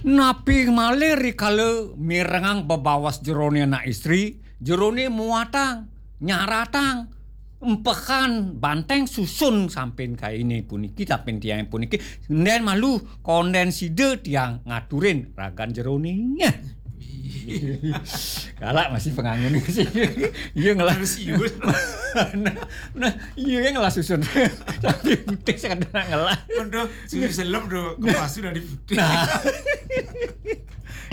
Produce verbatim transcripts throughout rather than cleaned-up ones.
Napi malih rikala mirengang bebaos jerone anak istri, jerone muatang, nyaratang, empehan banteng susun sampin kaine puniki, sampin tiange puniki, nden malu konden sida tiang ngaturin ragan jerone. Galak masih pengangun sih. Iya ngelah. Harus iya. Nah, nah, iya yang ngelah susun. Tapi putih sekadar ngelah. Aduh, susu selem tuh, kepas sudah di putih. Nah.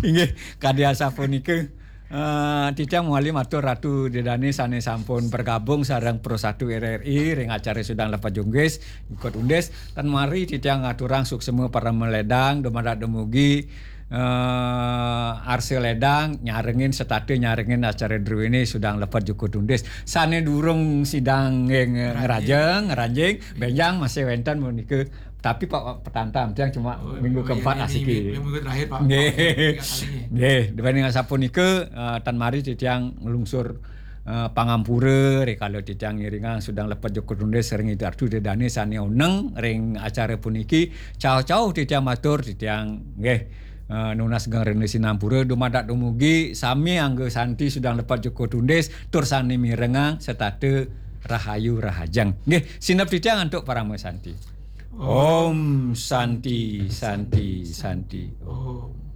Inggih, kadi asapunika. Eh, titiang mawali matur Ratu Ida Dane sane sampun bergabung sareng Pro Satu R R I ring acara Sudang Lepat Jukut Tundis. Ikut undis, tan mari titiang ngaturang suksma parama ledang, dumadak dumugi, eh, arsa ledang, nyarengin setata nyarengin acara druene Sudang Lepat Jukut Tundis. Sane durung sida nge-, nge-, ngrajeng, ngranjing, benjang masih wenten menika. Tapi Pak Petanta, tiang cuma minggu keempat asiki. Minggu terakhir, Pak. Nggih. Nggih, dening asapunika, eh, tan mari titiang nglungsur, eh, pangampura rikala titiang ngiringang Sudang Lepat Jukut Tundis ring Ida Ratu Ida Dane sane oneng ring acara puniki. Cauh-cauh titiang matur, titiang nggih, eh, nunas geng rena sinampura dumadak dumugi sami angga santi Sudang Lepat Jukut Tundis tur sane mirengang setata rahayu rahajeng. Nggih, sineb titiang antuk parama santi. Om Santi, Santi, Santi. Om.